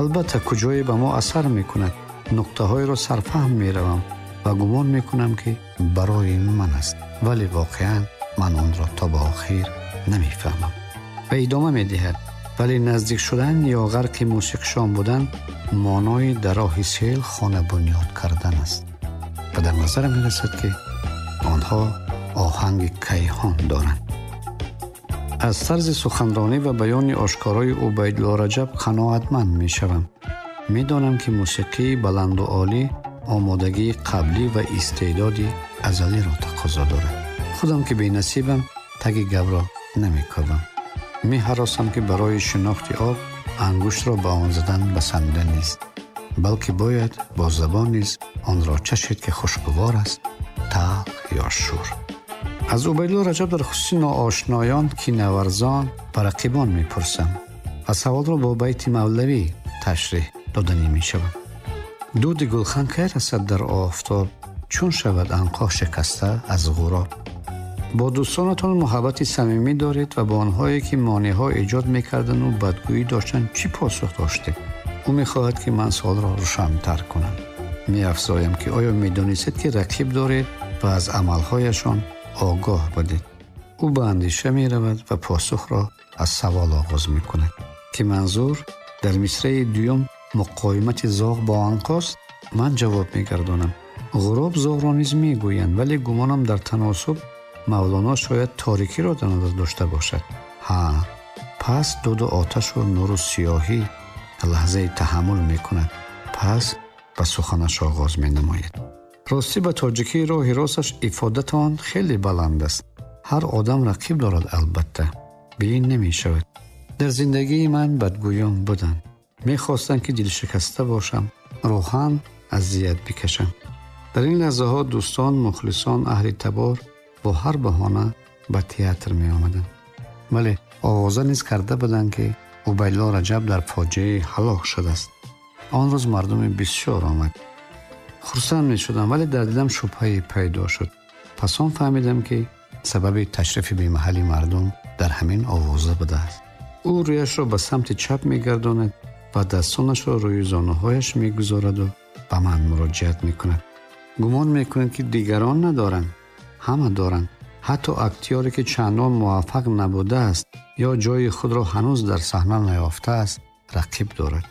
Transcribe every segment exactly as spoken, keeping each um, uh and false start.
Албатта, куҷое ба мо асар мекунад, нуқтаҳоеро сарфаҳм меравам ва гумон мекунам, ки барои ман аст, вале воқеан ман онро то ба охир намефаҳмам. Ва идома медиҳад: вале наздик шудан ё ғарқи мусиқишон будан маънои дар роҳи сел хона бунёд кардан аст. Ва дар назарам мерасад, ки онҳо оҳанги кайҳон доранд. Аз тарзи суханронӣ ва баёни ошкорои Убайдулло Раҷаб қаноатманд мешавам. Медонам, ки мусиқии баланду олӣ омодагии қаблӣ ва истеъдоди азалиро тақозо дорад. Худам ки бенасибам, таги гапро намекобам. Меҳаросам, ки барои шинохти об ангуштро ба он задан басанда нест, балки бояд бо забон низ онро чашид, ки хушгувор аст, талх ё шур. Аз Убайдулло Раҷаб дар хусуси ноошноён, кинаварзон ва рақибон мепурсам ва саволро бо байти мавлавӣ ташреҳ доданӣ мешавам. Дуди гулхан кай расад дар офтоб, чун шавад анқо шикаста аз ғуроб. Бо дӯстонатон муҳаббати самимӣ доред ва бо онҳое, ки монеъҳо эҷод мекардану бадгӯӣ доштанд, чӣ посух доштед? Ӯ мехоҳад, ки ман суолро рӯшантар кунам. Меафзоям, ки оё медонистед, ки рақиб доред ва аз амалҳояшон огоҳ будед? Ӯ ба андеша меравад ва посухро аз савол оғоз мекунад, ки манзур дар мисраи дуюм муқовимати зоғ бо анқост. Ман ҷавоб мегардонам: ғуроб зоғро низ мегӯянд, вале гумонам дар таносуб Мавлоно шояд торикиро дар назар дошта бошад. Ҳа, пас дуду оташу нуру сиёҳӣ лаҳзаи таҳаммул мекунад, пас ба суханаш оғоз менамояд. Ростӣ, ба тоҷикии роҳи росташ ифодатон хеле баланд аст. Ҳар одам рақиб дорад, албатта, бе ин намешавад. Дар зиндагии ман бадгӯён буданд, мехостанд, ки дилшикаста бошам, рӯҳан азият бикашам. Дар ин лаҳзаҳо дӯстон, мухлисон, аҳли табор бо ҳар баҳона ба театр меомаданд. Вале овоза низ карда буданд, ки Убайдулло Раҷаб дар фоҷиаи ҳалок шудааст. Он рӯз мардуми бисёр омад. Хурсанд мешудам, вале дар дилам шубҳае пайдо шуд. Пас он фаҳмидам, ки сабаби ташрифи бемаҳалли мардум дар ҳамин овоза будааст. Ӯ рӯяшро ба самти чап мегардонад ва дастонашро рӯи зонуҳояш мегузораду ба ман муроҷиат мекунад. Гумон мекунед, ки дигарон надоранд? Ҳама доранд. Ҳатто актёре, ки чандон муваффақ набудааст ё ҷои худро ҳанӯз дар саҳна наёфтааст, рақиб дорад.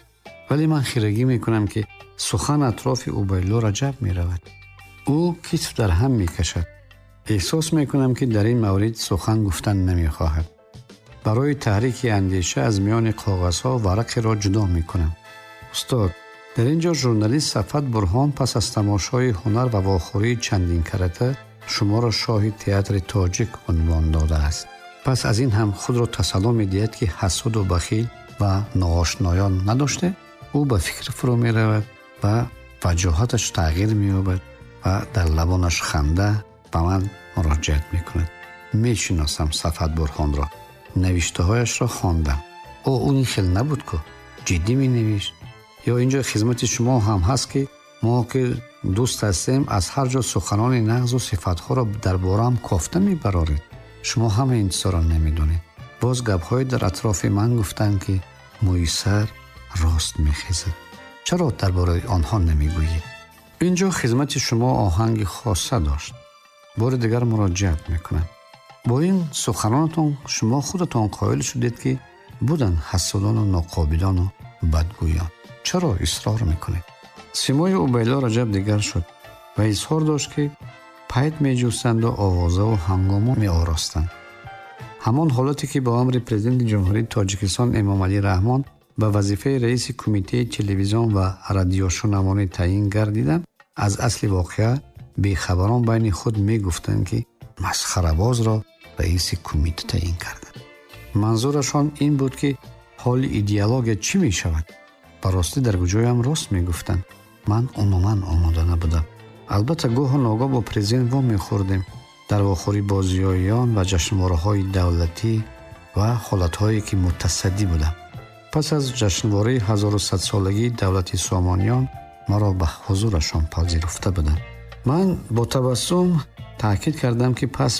Вале ман хирагӣ мекунам, ки сухан атрофи Убайдулло Раҷаб меравад. Ӯ китф дар ҳам мекашад. Эҳсос мекунам, ки дар ин маврид сухан гуфтан намехоҳад. Барои таҳрики андеша аз миёни коғазҳо варақеро ҷудо мекунам. Устод, дар ин ҷо журналист Сафат Бурҳон пас аз тамошои ҳунар ва вохӯрии чандин карата шуморо шоҳи театри тоҷик унвон додааст. Пас аз ин ҳам худро тасалло медиҳад, ки ҳасуду бахил ва ноошноён надоште. Ӯ ба фикр фурӯ меравад ва ваҷоҳаташ тағйир меёбад ва дар лабонаш ханда ба ман муроҷиат мекунад. Мешиносам Сафат Бурҳонро, навиштаҳояшро хондам. О, ӯ ин хел набуд ку, ҷиддӣ менавишт. Ё инҷо хизмати шумо ҳам ҳаст, ки мо ки дӯст ҳастем, аз ҳар ҷо суханони нағзу сифатҳоро дар бораам кофта мебароред. Шумо ҳама ин чизҳоро намедонед. Боз гапҳое дар атрофи ман гуфтанд, ки мӯи сар рост мехезад. Чаро дар бораи онҳо намегӯед? Инҷо хизмати шумо оҳанги хоса дошт. Бори дигар муроҷиат мекунам. Бо ин суханонатон шумо худатон қоил шудед, ки буданд ҳасудону ноқобилону бадгӯён. Чаро исрор мекунед? Симои Убайдулло Раҷаб дигар шуд ва изҳор дошт, ки пайт меҷӯстанду овозаву ҳангомо меоростанд. Ҳамон ҳолате, ки бо амри Президенти Ҷумҳурии Тоҷикистон Эмомалӣ Раҳмон ба вазифаи раиси Кумитаи телевизион ва радиошунавонӣ таъин гардидам, аз асли воқеа бехабарон байни худ мегуфтанд, ки масхарабозро раиси кумита таъин карданд. Манзурашон ин буд, ки ҳоли идеология чӣ мешавад? Ба ростӣ, дар куҷоям рост мегуфтанд. Ман умуман омода набудам. Албатта, гоҳу ногоҳ бо президент вомехӯрдем дар вохӯрӣ бо зиёиён ва ҷашнвораҳои давлатӣ ва ҳолатҳое, ки мутасаддӣ будам. Пас аз ҷашнвораи ҳазору садсолагии давлати Сомониён маро ба ҳузурашон пазируфта буданд. Ман бо табассум таъкид кардам, ки пас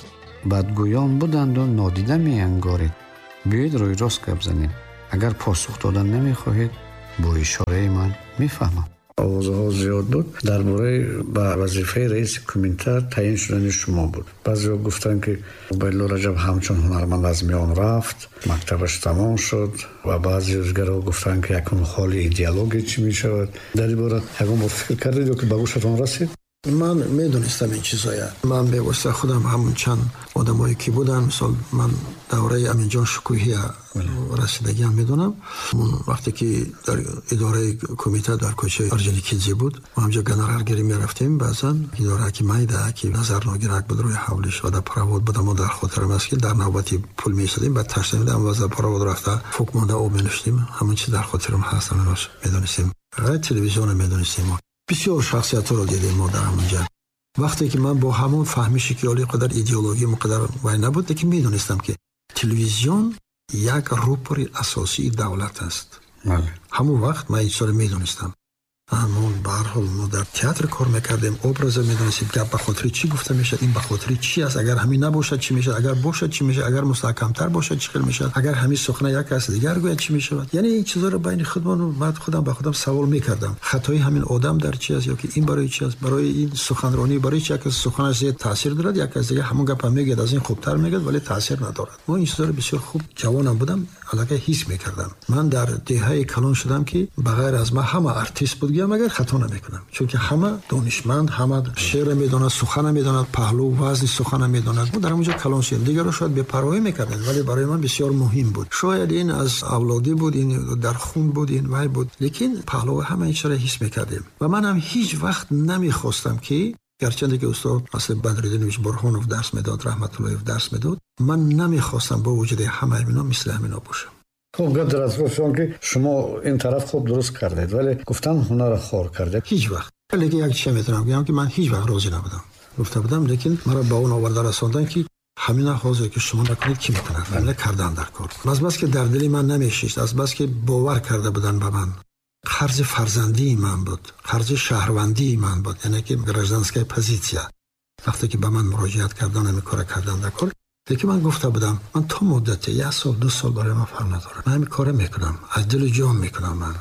бадгӯён буданду нодида меангоред. Биёед, рӯйрост гап занем. Агар посух додан намехоҳед, Бо ишораи ман мефаҳмам. Овозҳо зиёд буд дар бораи ба вазифаи раиси кумита таъин шудани шумо буд. Баъзеҳо гуфтанд, ки Убайдулло Раҷаб ҳамчун ҳунарманд аз миён рафт, мактабаш тамом шуд, ва баъзе дигарҳо гуфтанд, ки якун ҳоли идеология чӣ мешавад. Дар ин бора ягон бор фикр кардед ё ки ба гӯшатон расид? Ман медонистам ин чизоя. Ман бевосита худам ҳамун чанд одамое ки буданд, мисол ман давраи Аминҷон Шукӯҳия расидагиам медонам. Вақте ки дар идораи кумита дар кӯчаи Орджоникидзе буд, мо ҳамҷо гонораргирӣ мерафтем. Баъзан идора ки майда, ки назарногирак буд рӯи ҳавлиш ва дар провод буд, мо дар хотирам аст ки дар навбати пул меистодем, баъд ташна медам ва за провод рафта фук монда об менӯшидем. Ҳамон чиз дар хотирам ҳаст, ҳаминаш медонистем. Телевизионро медонистем. Бисёр шахсиятҳоро дидем мо дар ҳамонҷа. Вақте ки ман бо ҳамон фаҳмише ки оли қадар идеология муқадар вай набуд, лекин медонистам ки телевизион як рупори асосии давлат аст. Ҳамон вақт ман ин чизро медонистам. Мо ба ҳар ҳол мо дар театр кор мекардем, образа медонистем, гап ба хотири чӣ гуфта мешавад, ин ба хотири чӣ аст, агар ҳамин набошад чӣ мешавад, агар бошад чӣ мешавад, агар мустаҳкамтар бошад чӣ хел мешавад, агар ҳамин сухана як кас дигар гӯяд чӣ мешавад. Яъне ин чизҳоро байни худмон ман худам ба худам савол мекардам. Хатои ҳамин одам дар чӣ аст ё ки ин барои чӣ аст, барои ин суханронӣ, барои чӣ як кас суханаш зиёд таъсир дорад, як кас дигар ҳамон гапро мегӯяд, аз ин хубтар мегӯяд, вале таъсир надорад. Мо ин чизҳоро бисёр хуб ҷавонам будам, аллакай ҳис мекардам. Ман дар деҳаи калон шудам ки ба ғайр аз ман ҳама артист буд, магар хато намекунам, чунки ҳама донишманд, ҳама шеър медонад, сухана медонад, паҳлу вазни сухана медонад. Мо дар ҳамонҷо калон шудем. Дигарро шояд бепарвоӣ мекарданд, вале барои ман бисёр муҳим буд. Шояд ин аз авлодӣ буд, ин дар хун буд, ин вай буд, лекин паҳлу ҳама ин чизро ҳис мекардем. Ва ман ҳам ҳеҷ вақт намехостам ки, гарчанде ки устод асли Бадриддинович Бурҳонов дарс медод, Раҳматуллоев дарс медод, ман намехостам бо вуҷуди ҳамаи инҳо мисли ҳаминҳо бошам. Хуб, гап дар асоси он ки шумо ин тараф хуб дуруст кардед, вале гуфтан ҳунарро хор кардед. Ҳеҷ вақт. Лекин як чиз метавонам гӯям ки ман ҳеҷ вақт розӣ набудам. Гуфта будам, лекин маро ба он оварда расонданд ки ҳамина ҳозир ки шумо накунед кӣ мекунад? Ҳамина кардан дар кор. Аз бас ки дар дили ман намешишт, аз бас ки бовар карда буданд ба ман, қарзи фарзандии ман буд, қарзи шаҳрвандии ман буд, яъне ки гражданская позиция. Вақте ки ба ман муроҷиат карданд, ҳамин кора кардан дар кор, лекин ман гуфта будам, ман то муддате як сол, ду сол барои ман фарқ надорад. Ман ҳамин кора мекунам, аз дилу ҷон мекунам. Ман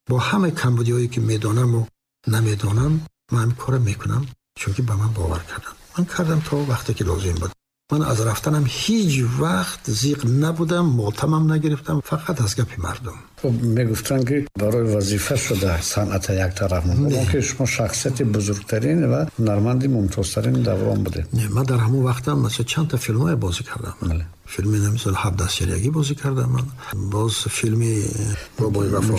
бо ҳамаи камбудиҳое ки медонам ва намедонам, ман ҳамин кора мекунам, чунки ба ман бовар карданд. Ман кардам то вақте ки лозим буд. Ман аз рафтанам ҳеҷ вақт зиқ набудам, мотамам нагирифтам, фақат аз гапи мардум. Хуб, мегуфтанд ки барои вазифа шуда санъат як тараф монд. Он ки шумо шахсияти бузургтарин ва ҳунарманди мумтозтарин даврон будед. Не, ман дар ҳамон вақтам масалан чанд та филмҳое бозӣ кардам. Бале. Филми мисол ҳабдаҳ сериягӣ бозӣ кардам ман. Боз филми Бобои Вафо,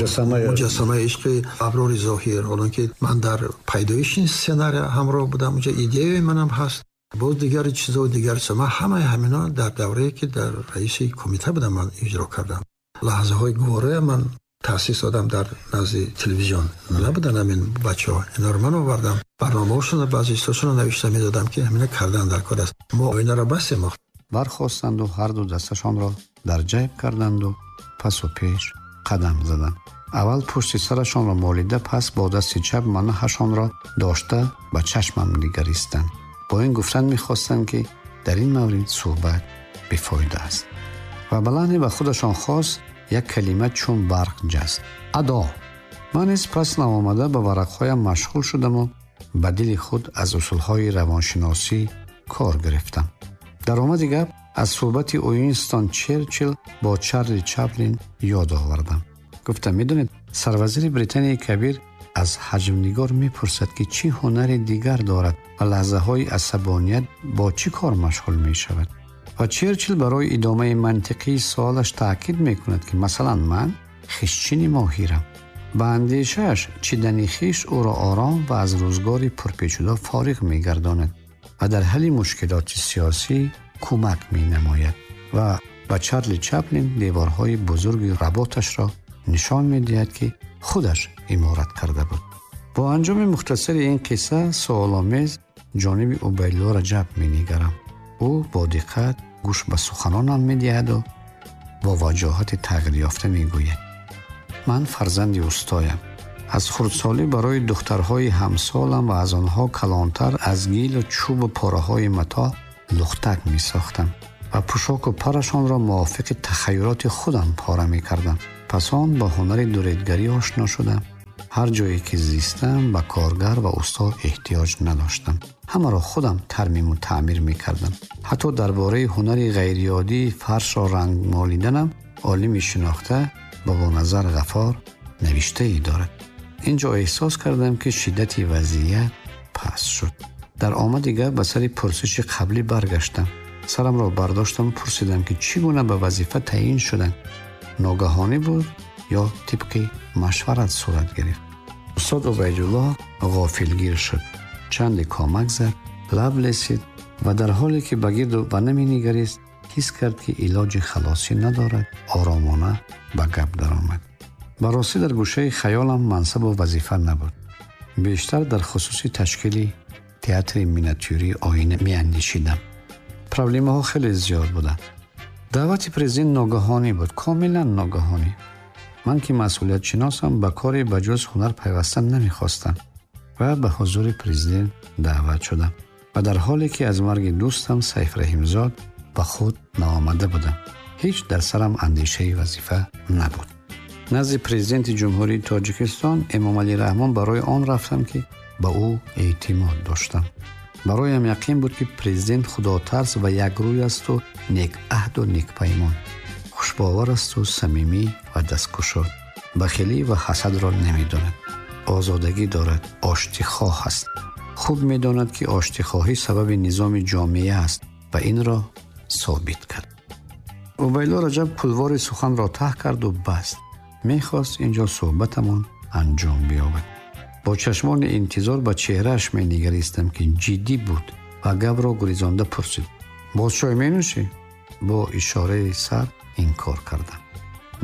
Муҷассамаи ишқи Аброри Зоҳир, ҳолон ки ман дар пайдоиши ин сценария ҳамроҳ будам, онҷо идеяи манам ҳаст. Боз дигар чизо дигар чизо. Ман ҳамаи ҳамино дар даврае ки дар раиси кумита будам ман иҷро кардам. Лаҳзаҳои гуворая ман таъсис додам дар назди телевизион. Набуданд ҳамин бачаҳо. Инҳоро ман овардам. Барномаҳошонро баъзе чизҳошонро навишта медодам ки ҳамина кардан дар кор аст. Мо оинаро бастем. Бархостанду ҳар ду дасташонро дар ҷайб карданду пасу пеш қадам заданд. Аввал пушти сарашонро молида, пас бо дасти чап манаҳашонро дошта ба чашмам нигаристанд. Бо ин гуфтан мехостанд ки дар ин маврид суҳбат бефоида аст. Ва ба лаҳне ба худашон хос як калима чун барқ ҷаст: адо. Ман низ пас наомада ба варақҳоям машғул шудаму ба дили худ аз усулҳои равоншиносӣ кор гирифтам. Дар омади гап аз суҳбати Уинстон Черчилл бо Чарли Чаплин ёд овардам. Гуфтам: медонед, сарвазири Британияи Кабир аз ҳаҷмнигор мепурсад ки чӣ ҳунари дигар дорад ва лаҳзаҳои асабоният бо чӣ кор машғул мешавад. Ва Черчилл барои идомаи мантиқии суолаш таъкид мекунад ки масалан ман хишчини моҳирам. Ба андешааш чидани хиш ӯро ором ва аз рӯзгори пурпечуда фориғ мегардонад ва дар ҳалли мушкилоти сиёсӣ кӯмак менамояд. Ва ба Чарли Чаплин деворҳои бузурги работашро нишон медиҳад ки худаш иморат карда буд. Бо анҷоми мухтасари ин қисса суоломез ҷониби Убайдулло Раҷаб менигарам. Ӯ бо диққат гӯш ба суханонам медиҳаду бо ваҷоҳати тағйирёфта мегӯяд: ман фарзанди устоям. Аз хурдсолӣ барои духтарҳои ҳамсолам ва аз онҳо калонтар аз гилу чӯбу пораҳои матоъ лухтак месохтам ва пӯшоку парашонро мувофиқи тахайюлоти худам пора мекардам. Пас он бо ҳунари дуредгарӣ ошно шудам. Ҳар ҷое ки зистам ба коргар ва устод эҳтиёҷ надоштам. Ҳамаро худам тармиму таъмир мекардам. Ҳатто дар бораи ҳунари ғайриоддии фаршро ранг молиданам олими шинохта Бобоназар Ғаффор навиштае дорад. Инҷо эҳсос кардам ки шиддати вазъият паст шуд. Дар омади гап ба сари пурсиши қаблӣ баргаштам. Сарамро бардоштам ва пурсидам ки чӣ гуна ба вазифа таъин шуданд. Ногаҳонӣ буд ё тибқи машварат сурат гирифт? Устод Убайдуллоҳ ғофилгир шуд. Чанде комак зад, лаб лесид ва дар ҳоле ки ба гирду ба наменигарист, ҳис кард ки илоҷи халосӣ надорад, оромона ба гап даромад. Ба ростӣ дар гӯшаи хаёлам мансабу вазифа набуд. Бештар дар хусуси ташкили театри миниатюрии оина меандешидам. Проблемаҳо хеле зиёд буданд. Даъвати президент ногаҳонӣ буд, комилан ногаҳонӣ. Ман ки масъулиятшиносам, ба коре ба ҷуз ҳунар пайваста намехостам ва ба ҳузури президент даъват шудам. Ва дар ҳоле ки аз марги дӯстам Сайф Раҳимзод ба худ наомада будам, ҳеҷ дар сарам андешаи вазифа набуд. Назди президенти Ҷумҳурии Тоҷикистон Эмомалӣ Раҳмон барои он рафтам ки ба ӯ эътимод доштам. Бароям яқин буд ки президент худотарс ва якрӯй асту некаҳду некпаймон, хушбовар асту самимӣ ва дасткушод, бахилӣ ва ҳасадро намедонад, озодагӣ дорад, оштихоҳ аст. Хуб медонад ки оштихоҳӣ сабаби низоми ҷомеа аст ва инро собит кард. Убайдуллоҳ Раҷаб пулвори суханро таҳ карду баст. Мехост инҷо суҳбатамон анҷом биёбад. Бо чашмони интизор ба чеҳрааш менигаристам ки ҷиддӣ буд ва гапро гурезонда пурсид: боз чой менӯшӣ? Бо ишораи сар инкор кардам.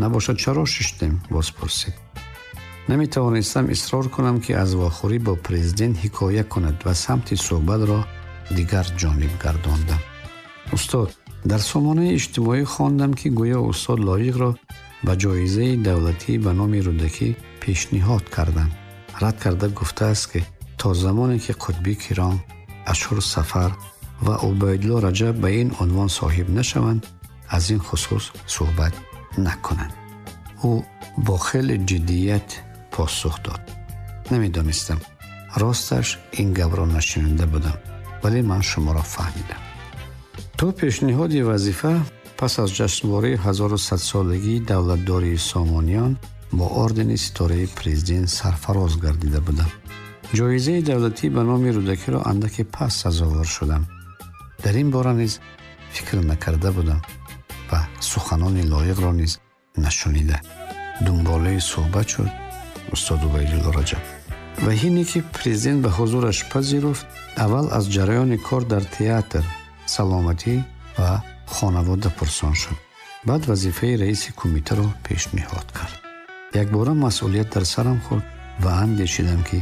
Набошад чаро шиштем? Боз пурсид. Наметавонистам исрор кунам ки аз вохӯрӣ бо президент ҳикоя кунад ва самти суҳбатро дигар ҷониб гардондам. Устод, дар сомонаи иҷтимоӣ хондам ки гӯё устод Лоиқро ба ҷоизаи давлатӣ ба номи Рӯдакӣ пешниҳод карданд. Рад карда гуфтааст ки то замоне ки Қутбӣ Киром, Ашур Сафар ва Убайдуллоҳ Раҷаб ба ин унвон соҳиб нашаванд, аз ин хусус суҳбат накунанд. Ӯ бо хеле ҷиддият посух дод. Намедонистам, росташ ин гапро нашунида будам, вале ман шуморо фаҳмидам. То пешниҳоди вазифа пас аз ҷашнвораи ҳазору садсолагии давлатдории Сомониён бо ордени ситораи президент сарфароз гардида будам. Ҷоизаи давлатӣ ба номи Рӯдакиро андаке пас сазовор шудам. Дар ин бора низ фикр накарда будам ва суханони лоиқро низ нашунида. Дунболаи суҳбат шуд устод Убайдуллоҳ Раҷаб. Ва ҳине ки президент ба ҳузураш пазируфт, аввал аз ҷараёни кор дар театр, саломатӣ ва хонавода пурсон шуд. Баъд вазифаи раиси кумитаро пешниҳод кард. Якбора масъулият дар сарам хӯрд ва андешидам ки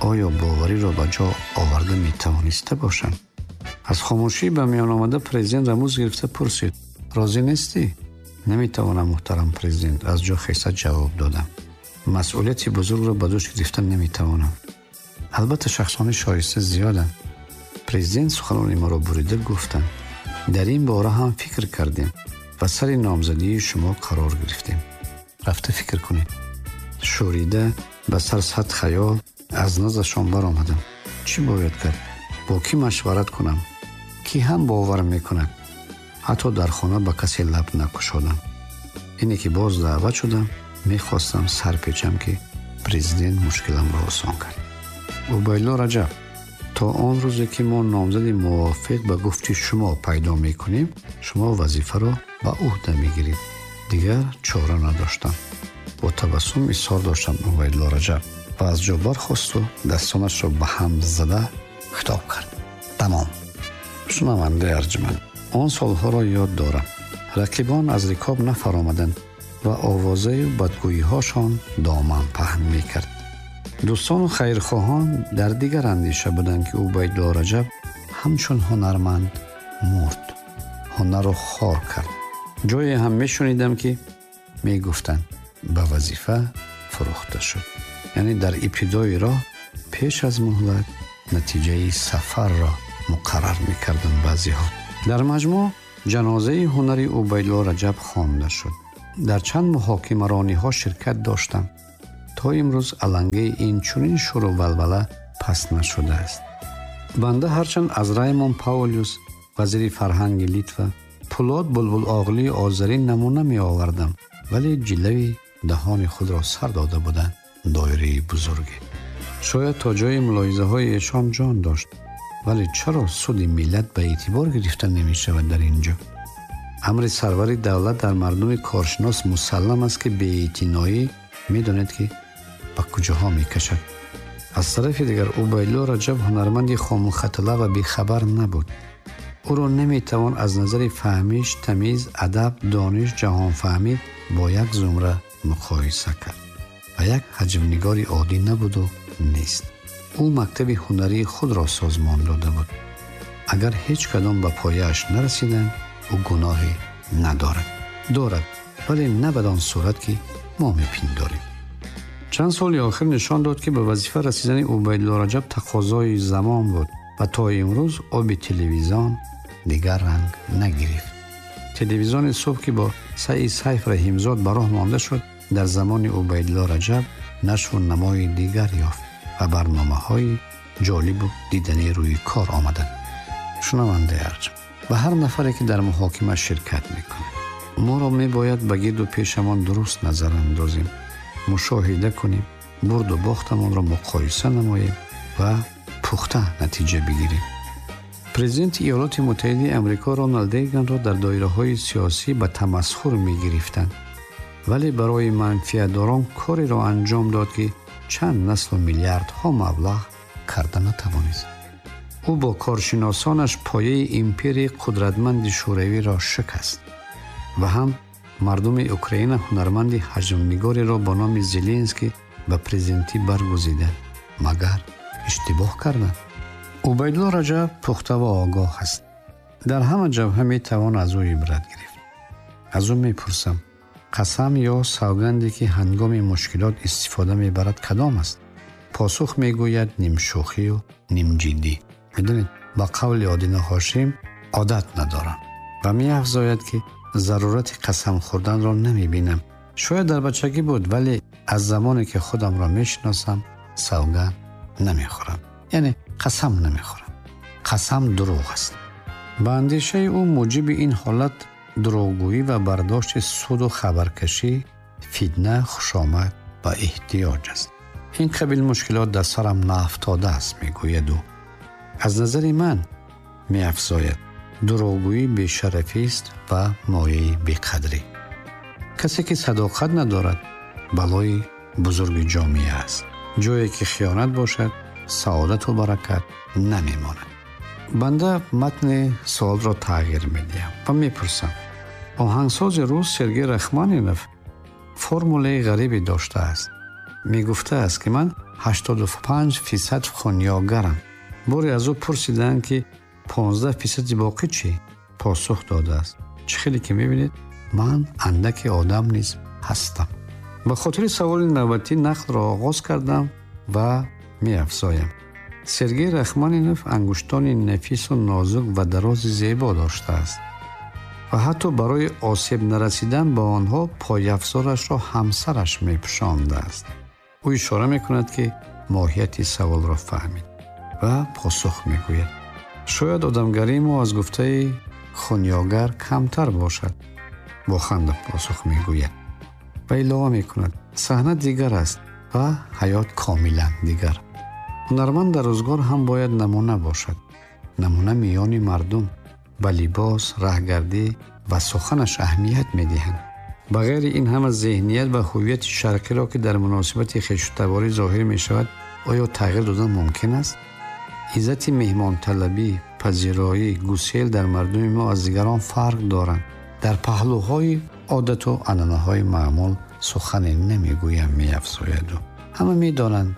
оё бовариро ба ҷо оварда метавониста бошам. Аз хомӯшӣ ба миён омада президент рамуз гирифта пурсид: розӣ нестӣ? Наметавонам, муҳтарам президент, аз ҷо хеста ҷавоб додам. Масъулияти бузургро ба дӯш гирифта наметавонам. Албатта шахсони шоиста зиёданд. Президент суханони маро бурида гуфтанд: дар ин бора ҳам фикр кардем ва сари номзадии шумо қарор гирифтем. Рафта фикр кунед. Шӯрида ба сар сад хаёл аз наздашон баромадам. Чӣ бояд кард? Бо кӣ машварат кунам? Кӣ ҳам бовар мекунад? Ҳатто дар хона ба касе лаб накушодам. Ине ки боз даъват шудам, мехостам сар печам ки президент мушкиламро осон кард. Убайдуллоҳ Раҷаб, то он рӯзе ки мо номзади мувофиқ ба гуфти шумо пайдо мекунем, шумо вазифаро ба ӯҳда мегиред. Дигар чора надоштам. Бо табассум изҳор доштам Убайдуллоҳ Раҷаб ва аз ҷо бархосту дастонашро ба ҳам зада хитоб кард: тамом. Шунавандаи арҷманд, он солҳоро ёд дорам. Рақибон аз рикоб нафаромаданд ва овозаю бадгӯиҳошон доман паҳн мекард. Дӯстону хайрхоҳон дар дигар андеша буданд ки Убайдуллоҳ Раҷаб ҳамчун ҳунарманд мурд, ҳунарро хор кард. Ҷое ҳам мешунидам ки мегуфтанд ба вазифа фурӯхта шуд. Яъне дар ибтидои роҳ пеш аз муҳлат натиҷаи сафарро муқаррар мекарданд баъзеҳо. Дар маҷмӯъ ҷанозаи ҳунари Убайдуллоҳ Раҷаб хонда шуд. Дар чанд муҳокимарониҳо ширкат доштам. То имрӯз алангаи ин чунин шуру валвала пас нашудааст. Банда ҳарчанд аз Раймон Паулюс, вазири фарҳанги Литва, Пулод Булбулоғлии озарӣ намуна меовардам, вале ҷилави даҳони худро сар дода буданд доираи бузурге. Шояд то ҷои мулоҳизаҳои эшон ҷон дошт, вале чаро суди миллат ба эътибор гирифта намешавад дар ин ҷо? Амри сарвари давлат дар мардуми коршинос мусаллам аст, ки беэътиноӣ медонед, ки ба куҷоҳо мекашад. Аз тарафи дигар, Убайдулло Раҷаб ҳунарманди хомухатала ва бехабар набуд. Ӯро наметавон аз назари фаҳмиш, тамиз, адаб, дониш, ҷаҳонфаҳмӣ бо як зумра муқоиса кард ва як ҳаҷмнигори оддӣ набуду нест. Ӯ мактаби ҳунарии худро созмон дода буд. Агар ҳеҷ кадом ба пояаш нарасиданд, ӯ гуноҳе надорад. Дорад, вале на бадон сурат, ки мо мепиндорем. Чанд соли охир нишон дод, ки ба вазифа расидани Убайдулло Раҷаб тақозои замон буд ва то имрӯз оби телевизион дигар ранг нагирифт. Телевизиони субҳ, ки бо саи Сайф Раҳимзод ба роҳ монда шуд, дар замони Убайдулло Раҷаб нашву намои дигар ёфт ва барномаҳои ҷолибу диданӣ рӯи кор омаданд. Шунавандаи арҷманд, ба ҳар нафаре, ки дар муҳокима ширкат мекунад, моро мебояд ба гирду пешамон дуруст назар андозем, мушоҳида кунем, бурду бохтамонро муқоиса намоем ва пухта натиҷа бигирем. Президенти Иёлоти Муттаҳидаи Амрико Роналд Рейганро дар доираҳои сиёсӣ ба тамасхур мегирифтанд, вале барои манфиатдорон кореро анҷом дод, ки чанд наслу миллиардҳо маблағ карда натавонист. Ӯ бо коршиносонаш пояи империяи қудратманди шӯравиро шикаст ва ҳам мардуми Украина ҳунарманди ҳаҷмнигореро бо номи Зеленский ба президентӣ баргузиданд. Магар иштибоҳ карданд? Убайдулло Раҷаб пухта ва огоҳ аст. Дар ҳама ҷабҳа метавон аз ӯ ибрат гирифт. Аз ӯ мепурсам, қасам ё савганде, ки ҳангоми мушкилот истифода мебарад, кадом аст? Посух мегӯяд нимшӯхию нимҷиддӣ. Медонед, ба қавли Одина Ҳошим одат надорам ва меафзояд, ки зарурати қасам хӯрданро намебинам. Шояд дар бачагӣ буд, вале аз замоне ки худамро мешиносам, савганд намехӯрам, яъне қасам намехӯрам. Қасам дурӯғ аст. Ба андешаи ӯ муҷиби ин ҳолат дурӯғгӯӣ ва бардошти суду хабаркашӣ, фитна, хушомад ва эҳтиёҷ аст. Ин қабил мушкилот дар сарам наафтодааст, мегӯяд ӯ. Аз назари ман, меафзояд, дурӯғгӯӣ бешарафист ва мояи беқадрӣ. Касе, ки садоқат надорад, балои бузурги ҷомеа аст. Ҷое ки хиёнат бошад, саодату баракат намемонад. Банда матни суолро тағйир медиҳам ва мепурсам: оҳангсози рус Сергей Рахманинов формулаи ғарибе доштааст. Мегуфтааст, ки ман ҳаштоду панҷ фисад хунёгарам. Боре аз ӯ пурсиданд, ки понздаҳ фисади боқӣ чӣ? Посух додааст: чӣ хеле ки мебинед, ман андаки одам низ ҳастам. Ба хотири саволи навбатӣ нақлро оғоз кардам ва меафзоям: Сергей Рахманинов ангуштони нафису нозук ва дарози зебо доштааст ва ҳатто барои осеб нарасидан ба онҳо пойафзорашро ҳамсараш мепӯшондааст. Ӯ ишора мекунад, ки моҳияти саволро фаҳмид ва посух мегӯяд: шояд одамгарии мо аз гуфтаи хунёгар камтар бошад. Бо ханда посух мегӯяд ва илова мекунад: саҳна дигар аст ва ҳаёт комилан дигар. Ҳунарманд дар рӯзгор ҳам бояд намуна бошад. Намуна миёни мардум ба либос, раҳгардӣ ва суханаш аҳамият медиҳанд. Ба ғайри ин ҳама зеҳният ва ҳуввияти шарқиро, ки дар муносибати хешутаборӣ зоҳир мешавад, оё тағйир додан мумкин аст? Иззати меҳмонталабӣ, пазироӣ, гусел дар мардуми мо аз дигарон фарқ доранд. Дар паҳлӯҳои одату анъанаҳои маъмул сухане намегӯям, меафзояд ӯ. Ҳама медонанд.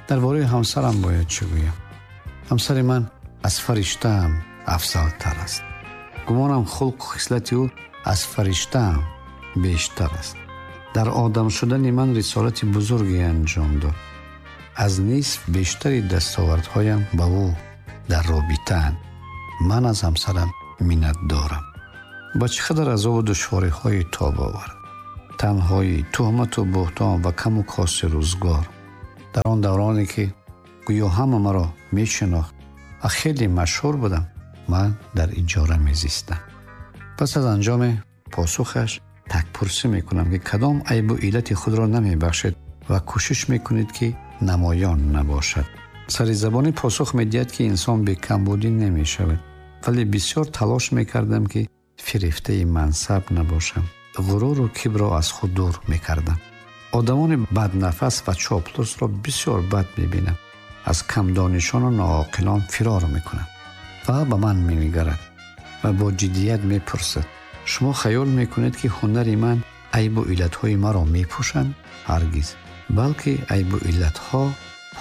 Дар бораи ҳамсарам бояд чӣ гӯям? Ҳамсари ман аз фариштаам афзалтар аст. Гумонам хулқу хислати ӯ аз фариштаам бештар аст. Дар одам шудани ман рисолати бузурге анҷом дод. Аз нисф бештари дастовардҳоям ба ӯ дар робитаанд. Ман аз ҳамсарам миннатдорам. Ба чӣ қадар азобу душвориҳои тоб овард. Танҳоӣ, туҳмату буҳтон ва каму кости рӯзгор. Дар он давроне ки гӯё ҳама маро мешинохт ва хеле машҳур будам, ман дар иҷора мезистам. Пас аз анҷоми посухаш такпурсӣ мекунам ки кадом айбу иллати худро намебахшед ва кӯшиш мекунед ки намоён набошад. Сари забонӣ посух медиҳад ки инсон бекамбудӣ намешавад, вале бисёр талош мекардам ки фирефтаи мансаб набошам. Ғуруру кибрро аз худ дур мекардам. Одамони баднафас ва чоплусро бисёр бад мебинам. Аз камдонишону ноақилон фирор мекунам. Ва ба ман менигарад ва бо ҷиддият мепурсад: шумо хаёл мекунед ки ҳунари ман айбу иллатҳои маро мепӯшанд? Ҳаргиз, балки айбу иллатҳо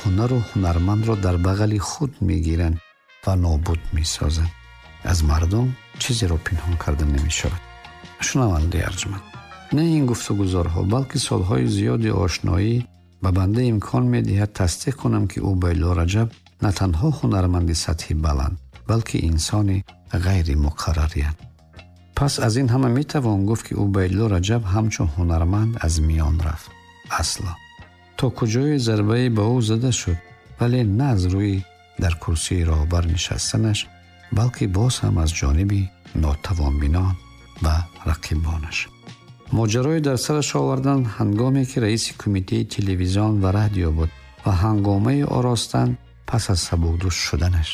ҳунару ҳунармандро дар бағали худ мегиранд ва нобуд месозанд. Аз мардум чизеро пинҳон карда намешавад. Шунавандаи арҷманд, на ин гуфтугузорҳо, балки солҳои зиёди ошноӣ ба банда имкон медиҳад тасдиқ кунам ки Убайдулло Раҷаб на танҳо ҳунарманди сатҳи баланд, балки инсони ғайримуқаррарианд. Пас аз ин ҳама метавон гуфт ки Убайдулло Раҷаб ҳамчун ҳунарманд аз миён рафт. Асло то куҷое зарбае ба ӯ зада шуд, вале на аз рӯи дар курсии роҳбар нишастанаш, балки боз ҳам аз ҷониби нотавонбинон ва рақибонаш. Моҷарои дар сараш овардан ҳангоме ки раиси кумитаи телевизион ва радио буд ва ҳангомаи оростан пас аз сабукдӯш шуданаш.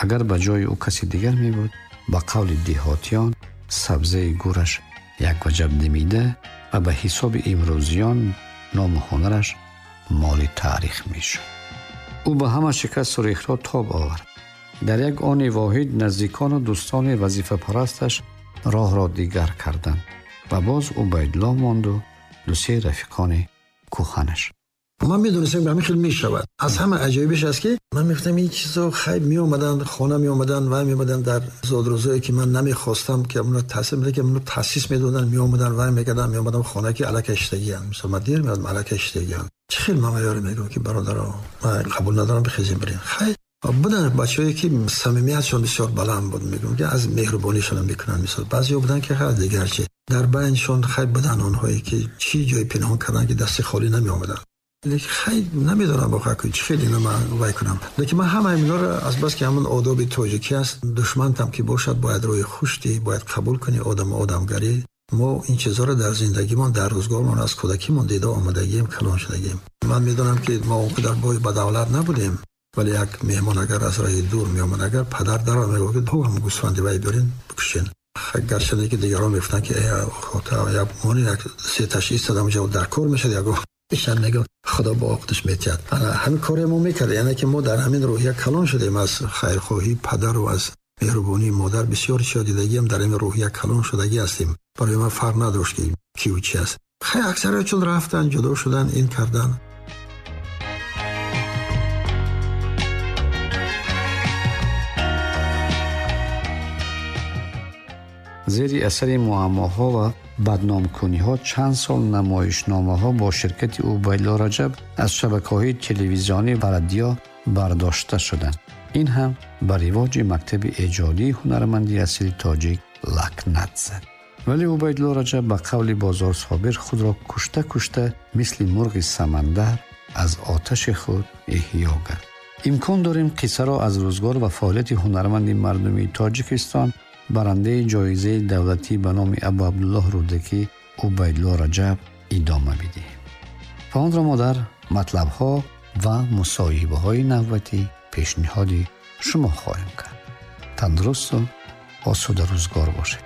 Агар ба ҷои ӯ каси дигар мебуд, ба қавли деҳотиён сабзаи гӯраш як ваҷаб демида ва ба ҳисоби имрӯзиён ному ҳунараш моли таърих мешуд. Ӯ ба ҳама шикасту рехтҳо тоб овард. Дар як они воҳид наздикону дӯстони вазифапарасташ роҳро дигар карданд ва боз Убайдулло монду ду-се рафиқони кӯҳанаш. Ман медонистам ки ҳамин хел мешавад. Аз ҳама аҷоибиш аст ки ман мегуфтам ин чизо хайр меомаданд, хона меомаданд ва меомаданд дар зодрӯзое ки ман намехостам ки онро таъсис медоданд, ки онро таъсис медоданд, меомаданд ва мекарданд, меомадам хона ки алакай иштагианд. Мисол ман дер меомадам, алакай иштагианд. Чӣ хел ман ёре мегӯям ки бародаро, ман қабул надорам, бихезем бирем. Хайр буданд бачаҳое ки самимиятшон бисёр баланд буд, мегӯям ки аз меҳрубонишон мекунанд. Мисол баъзеҳо буданд ки хайр дигар чи дар байншон хайр буданд онҳое ки чӣ ҷой пинҳон карданд ки дасти холӣ намеомаданд. Лекин хайр намедонам воқеан ки чӣ хеле инро ман вай кунам. Лекин ман ҳама инҳоро аз бас ки ҳамон одоби тоҷикӣ аст, душмантам ки бошад бояд рӯи хуш диҳӣ, бояд қабул кунӣ одам одамгарӣ. Мо ин чизҳоро дар зиндагимон, дар рӯзгормон аз кӯдакимон дида омадагием, калон шудагием. Ман медонам ки мо он қадар бой ба давлат набудем, вале як меҳмон агар аз роҳи дур меомад, агар падар даро мегуфт ки ту ҳам гӯсфанди вай биёрин бикушен. Гарчанде ки дигарон мегуфтанд ки э хота як мони як се таш истодам ҷо дар кор мешад, ягон ишан мегуфт худо бо оқдаш метиҳад. Ана ҳамин коре мо мекардем, яъне ки мо дар ҳамин рӯҳия калон шудем аз хайрхоҳии падар ва аз меҳрубонии модар. Бисёр чизо дидагиам дар ҳамин рӯҳия калон шудагӣ ҳастем. Барои ман фарқ надошт ки киву чи аст. Хай аксарият чун рафтан, ҷудо шудан, ин кардан. Зери асари муаммоҳо ва бадномкуниҳо чанд сол намоишномаҳо бо ширкати Убайдулло Раҷаб аз шабакаҳои телевизионӣ ва радио бардошта шуданд. Ин ҳам ба ривоҷи мактаби эҷодии ҳунарманди асили тоҷик лакнат зад. Вале Убайдулло Раҷаб ба қавли Бозор Собир худро кушта-кушта мисли мурғи самандар аз оташи худ эҳё кард. Имкон дорем қиссаро аз рӯзгор ва фаъолияти ҳунарманди мардумии Тоҷикистон, барандаи ҷоизаи давлатӣ ба номи Абу Абдуллоҳ Рӯдакӣ Убайдулло Раҷаб идома бидиҳем. Ва онро мо дар матлабҳо ва мусоҳибаҳои навбатӣ пешниҳоди шумо хоҳем кард. Тандурусту осуда рӯзгор бошед.